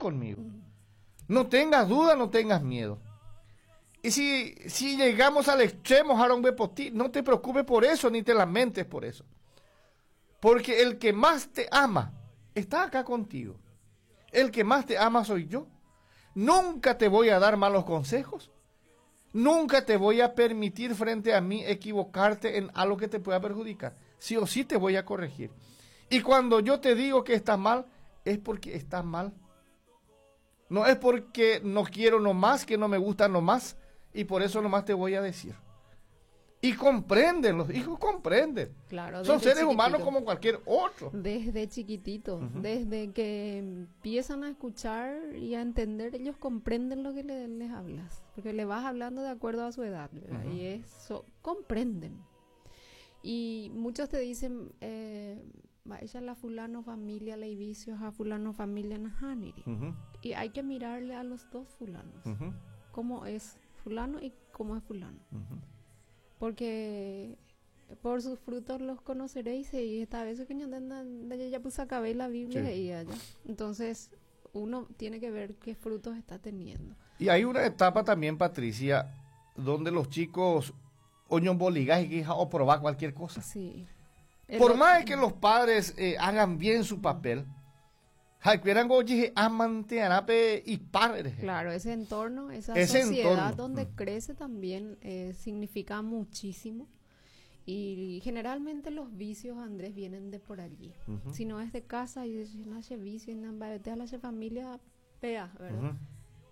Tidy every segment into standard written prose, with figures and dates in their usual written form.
conmigo. No tengas duda, no tengas miedo. Y si, si llegamos al extremo, Haron Bepotí, no te preocupes por eso, ni te lamentes por eso. Porque el que más te ama está acá contigo. El que más te ama soy yo. Nunca te voy a dar malos consejos. Nunca te voy a permitir frente a mí equivocarte en algo que te pueda perjudicar. Sí o sí te voy a corregir. Y cuando yo te digo que estás mal, es porque estás mal. No es porque no quiero nomás, que no me gusta nomás, y por eso nomás te voy a decir. Y comprenden, los hijos comprenden. Claro, Son desde seres humanos chiquitito. como cualquier otro. Desde chiquitito, desde que empiezan a escuchar y a entender, ellos comprenden lo que les hablas, porque le vas hablando de acuerdo a su edad, ¿verdad? Y eso, comprenden. Y muchos te dicen, va, ella la fulano familia, le vicios a fulano familia nahaniri. Y hay que mirarle a los dos fulanos, cómo es fulano y cómo es fulano. Porque por sus frutos los conoceréis, y esta vez que ya puse a caber la Biblia y allá. Entonces uno tiene que ver qué frutos está teniendo. Y hay una etapa también, Patricia, donde los chicos oñomboligas y o probar cualquier cosa. Por más que los padres hagan bien su papel, y padres. Claro, ese entorno, esa Ese sociedad entorno. donde crece también significa muchísimo. Y generalmente los vicios, Andrés, vienen de por allí. Si no es de casa, y si no hace vicio, y no va a la familia, pea, ¿verdad?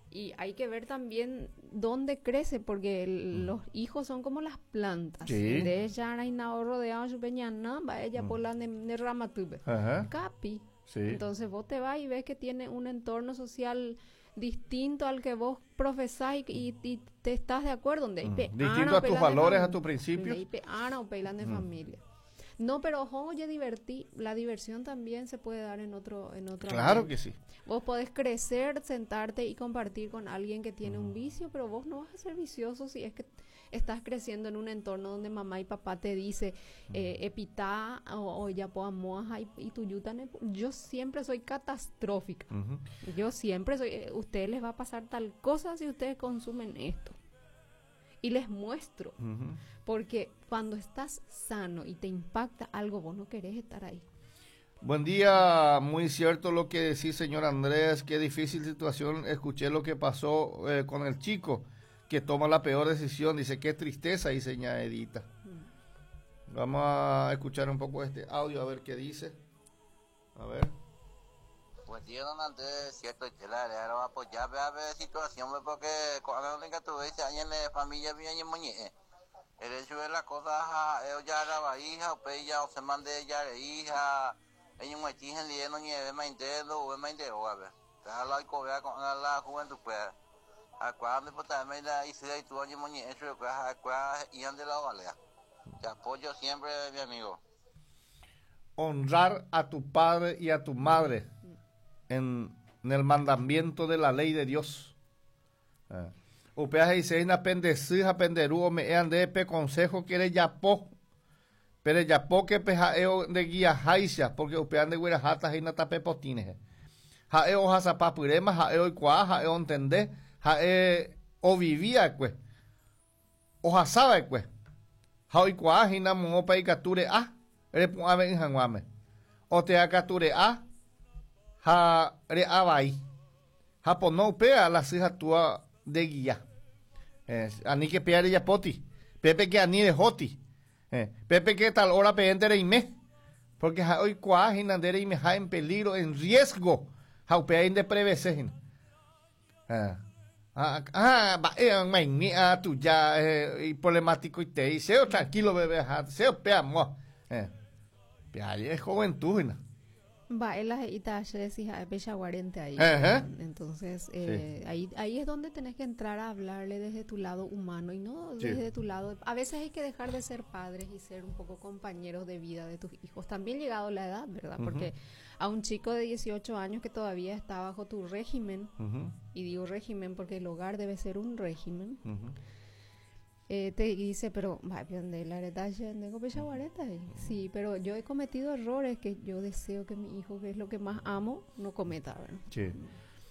Y hay que ver también dónde crece, porque los hijos son como las plantas. De ella hay nada rodeado, su peña, no, va ella por la de rama tuve. Capi. Entonces vos te vas y ves que tiene un entorno social distinto al que vos profesás y te estás de acuerdo. Donde hay pe- Distinto ana a tus pelan de valores, a familia. tus principios. Donde hay pe- ana o pelan de familia. No, pero ojo, oye, divertí. La diversión también se puede dar en otro Claro ambiente. que sí. Vos podés crecer, sentarte y compartir con alguien que tiene un vicio, pero vos no vas a ser vicioso si es que estás creciendo en un entorno donde mamá y papá te dice, epitá o ya po amoaja y tu yuta ne-. Yo siempre soy catastrófica. Yo siempre soy, ustedes les va a pasar tal cosa si ustedes consumen esto. Y les muestro, porque cuando estás sano y te impacta algo, vos no querés estar ahí. Buen día, muy cierto lo que decís, señor Andrés, qué difícil situación, escuché lo que pasó con el chico que toma la peor decisión, dice, qué tristeza, dice ña Edita. Vamos a escuchar un poco este audio, a ver qué dice. A ver. Buen día, don Andrés, cierto, que la área va a apoyar, ve a ver situación, ve, porque cuando tenga tu vez, ahí en la familia mía y en Moñe. El hecho de la cosa, ja, ellos ya la hija, o pe, ya, o se mande ya de hija, ellos me exigen, le no nieve, me entero, o me entero, a ver. Déjala y cobrar con la juventud, pues. A cuál, pues, también la hice y tú, oye, Moñe, eso, yo, pues, a cuál, y ande la valea. Te apoyo siempre, mi amigo. Honrar a tu padre y a tu madre en el mandamiento de la ley de Dios. Upea dice, na pendesí, ja penderú, me ean de pe consejo que le yapó. Pero yapó que pe jaeo de guía jaisa, porque upean de güera jata y na tape potines. Jaeo jasapapurema, jaeo ikuá, jaeo entendé, jae o vivía, pues. O jasaba, pues. Jao ikuá, jina mopa y cature a, repuame y janguame. O te acature a, ja re abai. Japón no upea la hija tua de guía. Ani que peare ya poti. Pepe que ani de joti. Pepe que tal hora pe entere y me. Porque ja hoy cuá jinandere y me ja en peligro, en riesgo. Ja upea in de prevese jin. Ah, ah, ba, ma, ni, ah, tu ya, y problemático y te dice, oh, tranquilo, bebé, ja, se opea, mo. Pea, es juventud, jina. Va, él las ita ayer decía, es bella guarente ahí. Entonces, ahí es donde tenés que entrar a hablarle desde tu lado humano y no desde tu lado. A veces hay que dejar de ser padres y ser un poco compañeros de vida de tus hijos. También llegado la edad, ¿verdad? Porque a un chico de 18 años que todavía está bajo tu régimen, y digo régimen porque el hogar debe ser un régimen, te dice, pero, va, pero de la verdad, yo tengo pecha guareta, eh. Sí, pero yo he cometido errores que yo deseo que mi hijo, que es lo que más amo, no cometa, ¿verdad? Sí.